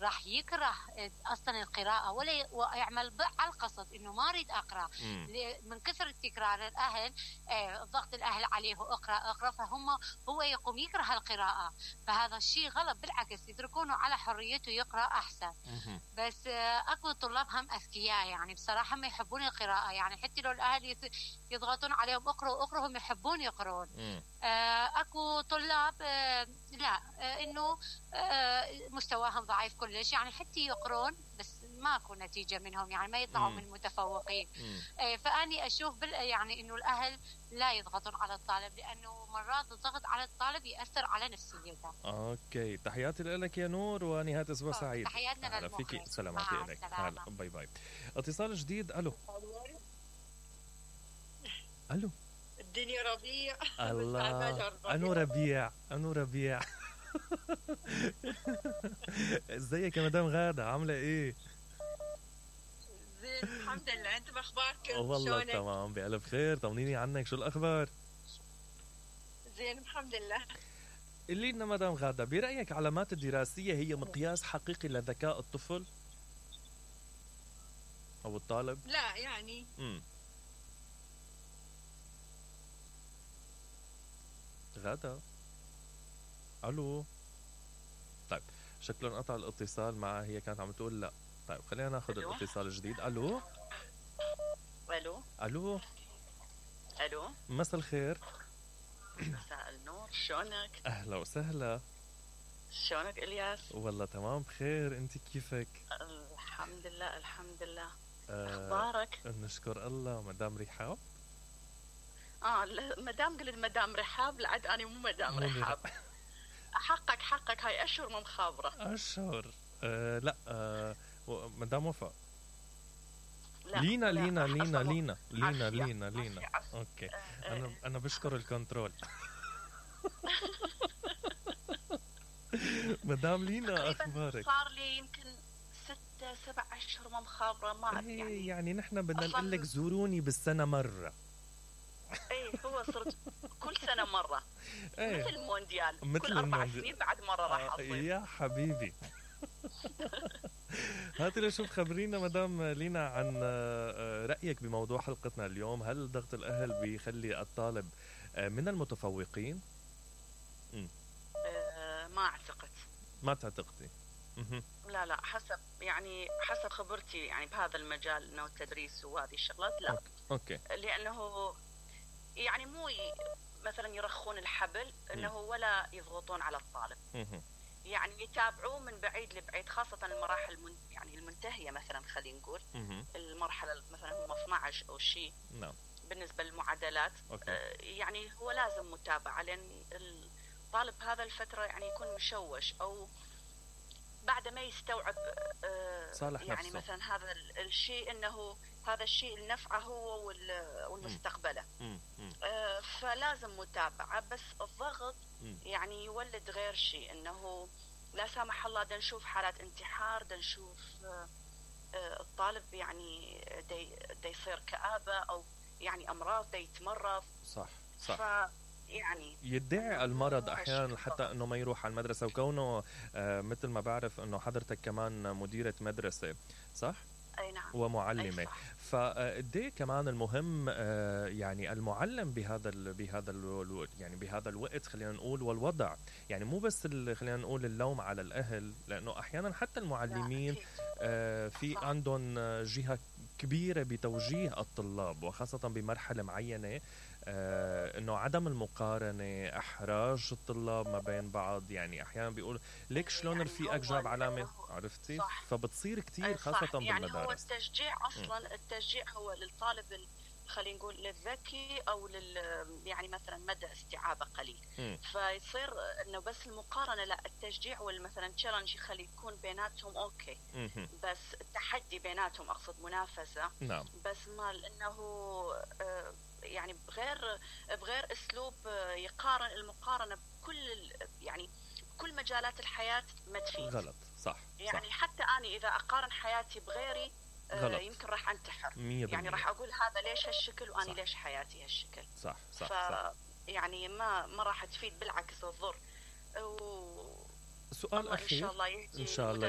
راح يكره اصلا القراءه ولا يعمل على القصد انه ما اريد اقرا من كثر تكرار الاهل، ضغط الاهل عليه اقرا فهم هو يقوم يكره القراءه. فهذا الشيء غلط، بالعكس يتركونه على حريته يقرا احسن. بس اكو طلاب هم اذكياء يعني بصراحه ما يحبون القراءه، يعني حتى لو الاهل يضغطون عليهم اقروا هم يحبون يقرون. اكو طلاب لا انه مستواهم ضعيف كلش، يعني حتى يقرون بس ماكو نتيجه منهم، يعني ما يطلعوا من المتفوقين. فاني اشوف يعني انه الاهل لا يضغطون على الطالب، لانه مرات الضغط على الطالب ياثر على نفسيته. اوكي، تحياتي لك يا نور، ونهايه اسبوع سعيد. تحياتنا للمخرج. سلاماتي لك. هلا باي باي. اتصال جديد. الو الو. الدنيا ربيع. الله. انو ربيع. ازيك يا مدام غادة، عامله ايه؟ زين الحمد لله، انتم اخباركم؟ والله تمام بألف خير. طمنيني عنك، شو الاخبار؟ زين الحمد لله. قولي لنا مدام غادة، برأيك علامات الدراسية هي مقياس حقيقي لذكاء الطفل او الطالب؟ لا يعني غادة. الو. طيب شكله انقطع الاتصال معها، هي كانت عم تقول لا. طيب خلينا ناخذ الاتصال الجديد. الو الو الو الو. مساء الخير. مساء النور، شلونك؟ اهلا وسهلا. شلونك الياس؟ والله تمام بخير، انت كيفك؟ الحمد لله الحمد لله. اخبارك؟ نشكر الله. مدام رحاب؟ مدام قلت مدام رحاب، لعد اني مو مدام رحاب. حقك هاي اشهر مو مخابره. اشهر لا مدام وفاء. لا لينا. اوكي. انا بشكر الكنترول. مدام لينا، اخبارك؟ صار لي يمكن 6-7 أشهر ما مخابره، ما يعني نحن بدنا نقول لك زوروني بالسنه مره. هو صرت كل سنه مره. مثل المونديال، كل 4 سنين بعد مره راح اصير. يا حبيبي. هاتي لشوف، خبرينا مدام لينا عن رأيك بموضوع حلقتنا اليوم. هل ضغط الأهل بيخلي الطالب من المتفوقين؟ ما أعتقد. ما تعتقدي؟ لا حسب خبرتي يعني بهذا المجال، انه التدريس وهذه الشغلات لا. اوكي. لانه يعني مو مثلا يرخون الحبل انه ولا يضغطون على الطالب. يعني يتابعوه من بعيد لبعيد، خاصة المراحل يعني المنتهية، مثلا خلينا نقول المرحلة مثلا هم 12 او شيء. نعم. بالنسبة للمعادلات يعني هو لازم متابعة، لان الطالب هذا الفترة يعني يكون مشوش او بعد ما يستوعب صالح يعني نفسه. مثلا هذا الشيء انه هذا الشيء لنفعه هو والمستقبله. فلازم متابعة. بس الضغط يعني يولد غير شيء، انه لا سامح الله دا نشوف حالات انتحار، دا نشوف الطالب يعني دا يصير كآبة او يعني امراض، دا يتمرض. صح. يعني يدعي المرض احيانا حتى انه ما يروح على المدرسه. وكونه مثل ما بعرف انه حضرتك كمان مديره مدرسه، صح؟ اي نعم. ومعلمه. فقديه كمان المهم يعني المعلم بهذا الوقت خلينا نقول، والوضع يعني مو بس خلينا نقول اللوم على الاهل، لانه احيانا حتى المعلمين في عندهم جهه كبيره بتوجيه الطلاب، وخاصه بمرحله معينه، انه عدم المقارنه، احراج الطلاب ما بين بعض. يعني احيانا بيقول ليك شلون رفيقك جاب علامه، عرفتي؟ فبتصير كتير خاصه يعني بالمدارس. هو التشجيع اصلا التشجيع هو للطالب خلينا نقول للذكي او يعني مثلا مدى استيعابه قليل. فيصير انه بس المقارنه لا، التشجيع مثلا تشالنج يخلي يكون بيناتهم اوكي. بس التحدي بيناتهم، اقصد منافسه. نعم. بس مال انه يعني بغير اسلوب يقارن. المقارنه بكل يعني كل مجالات الحياه ما تفيد. غلط. صح. يعني حتى انا اذا اقارن حياتي بغيري يمكن راح انتحر. يعني راح اقول هذا ليش هالشكل واني ليش حياتي هالشكل. صح. يعني ما راح تفيد، بالعكس تضر. سؤال اخير ان شاء الله يهدي. ان شاء الله